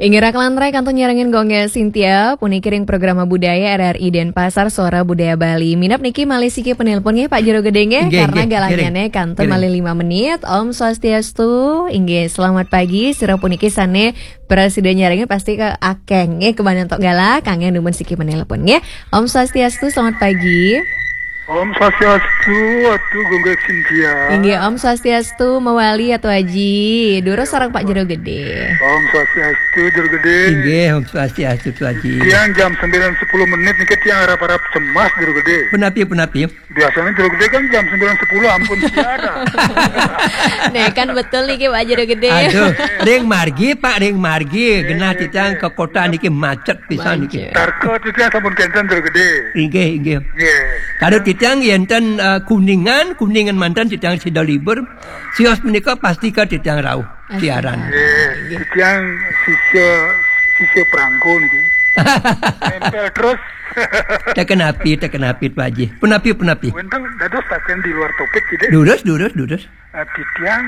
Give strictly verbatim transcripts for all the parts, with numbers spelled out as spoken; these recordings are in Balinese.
Inggih, rak lantaran kantun nyarengin Gung Sintia, puniki ring Programa Budaya R R I Denpasar, Suara Budaya Bali. Minab niki malih siki penelpon nggih, Pak Jero Gedé nggih, inggih, karena inggih, galangannya kantun inggih, malih lima menit. Om Swastiastu, inggih, selamat pagi. Sira puniki sané prasida nyarengin pasti ke akeh nggih, kebanyakan tok galah, kangen dumun siki penelpon nggih. Om Swastiastu, selamat pagi. Om Swastiastu, Atu Gung Sintia. Inggih, Om Swastiastu, mawali Atu Aji. Durus sareng Pak Jero Gedé. Om Swastiastu, Jero Gedé. Inggih, Om Swastiastu, Atu Aji. Tiang jam sembilan sepuluh menit niki tiang arap-arap cemas, Jero Gedé. Punapi, punapi? Biasanya Jero Gedé kan jam sembilan sepuluh ampun siaran. Nah, kan betul niki, Pak Jero Gedé. Aduh, ring margi, Pak, ring margi. Genah titiang ke kota niki macet pisan niki. Macet. Tarka titiang sampun kénten, Jero Gedé. Inggih, inggih. Nggih. Kalau titiang yénten, eh, Kuningan, Kuningan manten titiang sida libur. Sios menika pasti ke titiang rauh siaran. Nggih, titiang sisya, sisya perangko niki. Nempel terus. Teken api, teken api, Pak Haji. Punapi, punapi? Wénten dados taken di luar topik, Gedé. Durus, durus, durus. Eh, titiang,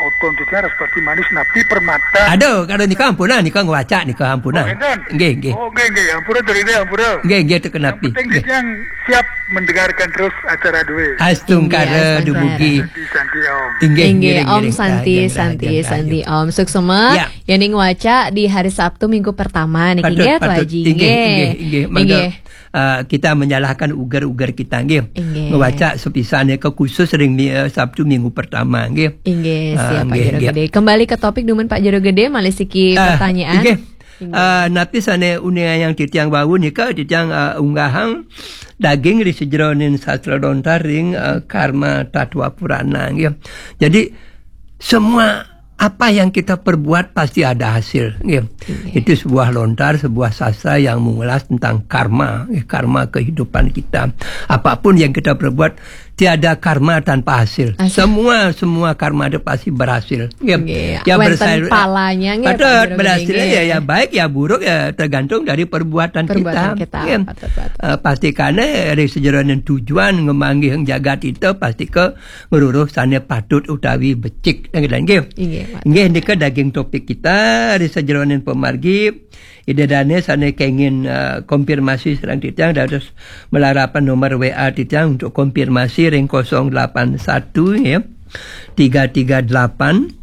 oton titiang Raspati Manis napi permata. Aduh, kalau nika ampunang, nika ngwacak, nika ampunang. Oh, énten? Nggih, nggih. Oh, nggih, nggih. Ampura, Jero Gedé, ampura. Nggih, nggih, teken api. Yang penting nggih, titiang siap mendengarkan terus acara duwe. Astungkara. Nggih, astungkara. Dumugi. Santi, Santi, Om. Inggih, inggih, Om, ngiring, ngiring. Santi, Santi, Om. Suksema. Ya. Yéning ngwacak di hari Sabtu minggu pertama niki, patut, nggih, Pak Haji. Inggih, nggih, inggih. Mangga, eh, kita menyalahkan uger-uger kita, nggih. Inggih. Ngwacak sepisan nika khusus ring mi-, eh, Sabtu minggu pertama, nggih. Inggih, siap, Pak Jero Gedé. Kembali ke topik dumun Pak Jero Gedé, malih siki pertanyaan. Inggih. Inggih. Eh, napi sané uningayang titiang wau nika, titiang, eh, unggahang daging ri sajeroning sastra lontar ring, eh, Karma Tatwa Purana, nggih. Jadi, semua apa yang kita perbuat pasti ada hasil, nggih. Iya. Itu sebuah lontar, sebuah sastra yang mengulas tentang karma, nggih, karma kehidupan kita. Apapun yang kita perbuat, tiada karma tanpa hasil. Hasil. Semua, semua karma itu pasti berhasil, nggih. Nggih. Ya, wénten berhasil, palanya, nggih, patut, Pak Jero, berhasil, nggih. Ya, ya baik, ya buruk, ya tergantung dari perbuatan kita. Perbuatan kita. Nggih. Patut, patut. Eh, pastikane ri sajeroning tujuan ngamanggih jagat kita, pasti ke ngruruh sané patut utawi becik. Nggih, nggih. Inggih, Pak. Nggih, nika daging topik kita, ri sajeroning pamargi, Ida dané sané kengin, eh, konfirmasi sareng titiang, dados malarapan nomor W A titiang untuk konfirmasi ring kosong delapan satu, ya. Tiga tiga delapan,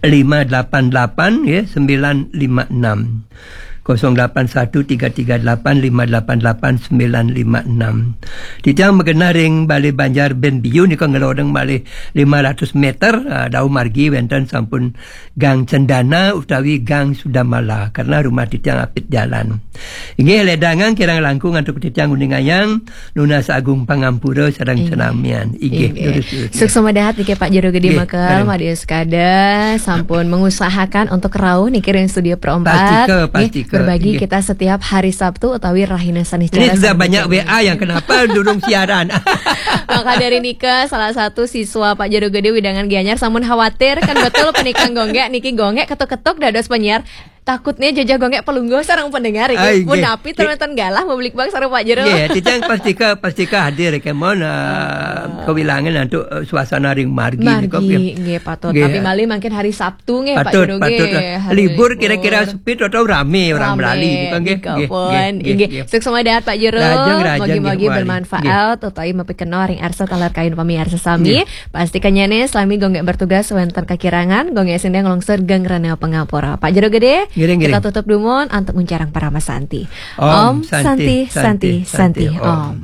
lima delapan delapan, ya, sembilan lima enam. Kosong delapan satu tiga tiga delapan lima delapan delapan sembilan lima enam. Titiang magenah ring Balé Banjar Bén Biu nika ngelodeng malih lima ratus meter, ah, daweg margi wénten sampun Gang Cendana utawi Gang Sudamala, karena rumah titiang apit jalan. Inggih, ledangang kirang langkung antuk titiang uningayang, nunas agung pangampura sareng, inggih, senamian. Inggih, inggih, durus, durus. Suksema dahat niki Pak Jero Gedé, inggih, maka, mari. Madius Kada sampun mengusahakan untuk rauh niki ring studio perempat. Pastika, nggih, pastika, berbagi, inggih, kita setiap hari Sabtu utawi rahina Saniscara. Ini sudah banyak W A yang kenapa durung siaran. Maka dari nika salah satu siswa Pak Jero Gedé wewidangan Gianyar sampun khawatir, kan betul punika Gung Gék niki, Gung Gék ketuk-ketuk dados penyiar. Takutnya jajah Gung Gék pelungguh sareng pendengar, ah, inggih. Punapi, nggih, ten wénten galah mabligbagan sareng Pak Jero. Nggih, titiang pastika, pastika hadir, kemon, eh, kawilangan antuk, eh, suasana ring margi nika, nggih. Margi, nggih, patut. Nggih. Tapi malih mangkin hari Sabtu nggih, Pak Jero, patut, nggih. Patut. Hari libur kira-kira libur. Sepi atau ramé orang, ramé, melali nika, nggih. Nika pun, nggih, nggih, nggih. Suksema dahat Pak Jero. Rajang, rajang, mugi-mugi nggih, bermanfaat, nggih, utawi mapikenoh ring arsa taler kayun pamiarsa sami. Nggih. Pastika nyané salami Gung Gék bertugas wénten kakirangan, Gung Gék sida nglungsur geng rena pangapura. Pak Jero Gedé, ngiring, ngiring, kita tutup dumun antuk nguncarang parama santi. Om Santi, Santi, Santi, Santi, Santi, Om. Om.